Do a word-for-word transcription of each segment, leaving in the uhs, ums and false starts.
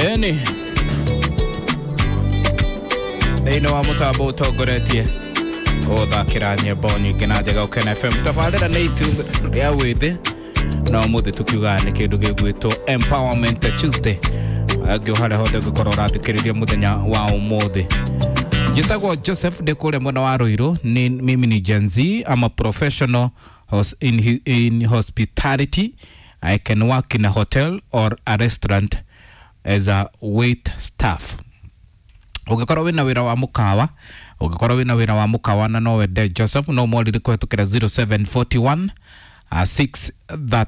Ĩni thĩinĩ wa mũtambo ũtongoretie gũthakĩra nyĩmbo nyingĩ na njega Ũkena F M. Tabarĩra nĩ itu rĩa wĩthĩ na ũmũthĩ tũkiugaga nĩ kĩndũ gĩgwĩtwo Empowerment Tuesday. Angĩ harĩa hothe ũngĩkorwo ũrathikĩrĩria mũthenya wa ũmũthĩ. Njĩtagwo Joseph, ndĩ kũrĩa mwena wa Ruiru. Ni mimi ni Gen Z. I'm a professional hos in, in hospitality. I can work in a hotel or a restaurant as a wait staff. Ũngĩkorwo wĩna wĩra wa mũkawa, ũngĩkorwo wĩna wĩra wa mũkawa na no wende Joseph, no morire kũhetũkĩra zero seven four one uh, six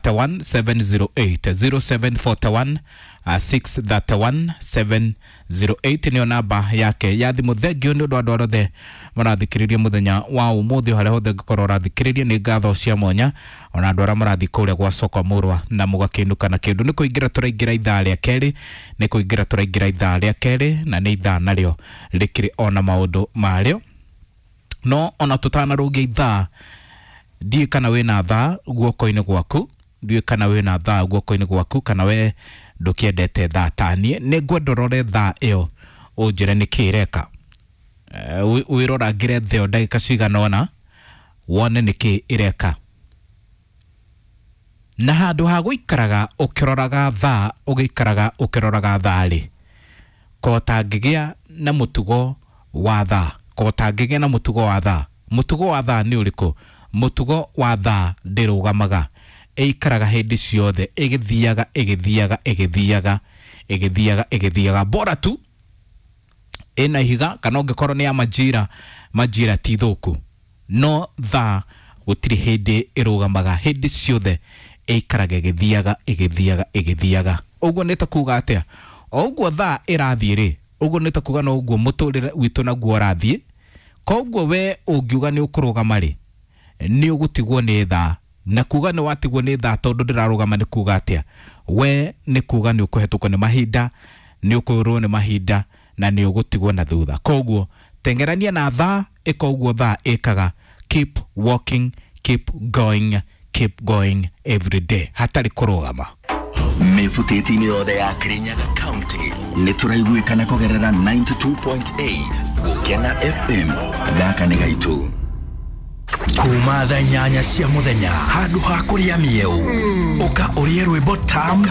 three one seven zero eight, zero seven four one uh, six three one seven zero eight nĩyo namba yake ya thimũ. Thengio nĩ ũndũ wa andũ othe marathikĩrĩria mũthenya wa ũmũthĩ. Harĩa hothe ũngĩkorwo ũrathikĩrĩria, nĩ ngatho cia mwanya ona andũ arĩa marathiĩ kũrĩa gwa soko mũrwa na mũgakĩinũka na kĩndũ. Nĩ kũingĩra tũraingĩra ithaa rĩa kerĩ, nĩ kũingĩra tũraingĩra ithaa rĩa kerĩ, na nĩ ithaa narĩo rĩkĩrĩ ona maũndũ marĩo. No ona tũtanarũgia ithaa, ndiũĩ kana wĩna thaa guoko-inĩ gwaku, ndiũĩ kana wĩna thaa guoko-inĩ gwaku, kana we ndũkĩendete thaa taniĩ. Nĩ ngwenda ũrore thaa ĩyo, ũnjĩre nĩkĩ ĩreka. Eh, wĩ- wĩrorangĩre thaa ĩyo ndagĩka cigana ũna, wone nĩkĩ ĩreka. Na handũ ha gũikaraga ũkĩroraga thaa, ũgĩikaraga ũkĩroraga thaa rĩ, ko tangĩgĩa na mũtugo wa thaa, ko tangĩgĩa na mũtugo wa thaa. Mũtugo wa thaa nĩ ũrĩkũ? Mũtugo wa thaa ndĩrũgamaga, ĩikaraga hĩndĩ ciothe ĩgĩthiaga, ĩgĩthiaga, ĩgĩthiaga, ĩgĩthiaga, ĩgĩthiaga, bora tu ĩna ihiga, kana ũngĩkorwo nĩ ya majira, majira ti thũku, no thaa gũtirĩ hĩndĩ ĩrũgamaga, hĩndĩ ciothe ĩikaraga ĩgĩthiaga, ĩgĩthiaga, ĩgĩthiaga. Ũguo nĩ ta kuga atĩa? O ũguo thaa ĩrathiĩ rĩ, ũguo nĩ ta kuga no ũguo mũtũrĩre witũ naguo ũrathiĩ. Koguo we ũngiuga nĩ ũkũrũgama rĩ, nĩ ũgũtigwo nĩ thaa. Na kuga nĩ watigwo nĩ thaa tondũ ndĩrarũgama nĩ kuga atĩa? We nĩ kuga nĩ ũkũhetũkwo nĩ mahinda, nĩ ũkũrwo nĩ mahinda na nĩ ũgũtigwo na thutha. Koguo tengerania na thaa, ĩka ũguo thaa ĩkaga. Keep walking, keep going, keep going every day, hatarĩ kũrũgama. Mĩbutĩti-inĩ yothe ya Kirinyaga County nĩ tũraiguĩkana kũgerera ninety-two point eight Gũkena F M. Gaka nĩ gaitũ. Kuma thaa inyanya cia mũthenya, handũ ha kũrĩa mĩeũ, ũka ũrĩe rwĩmbo tam.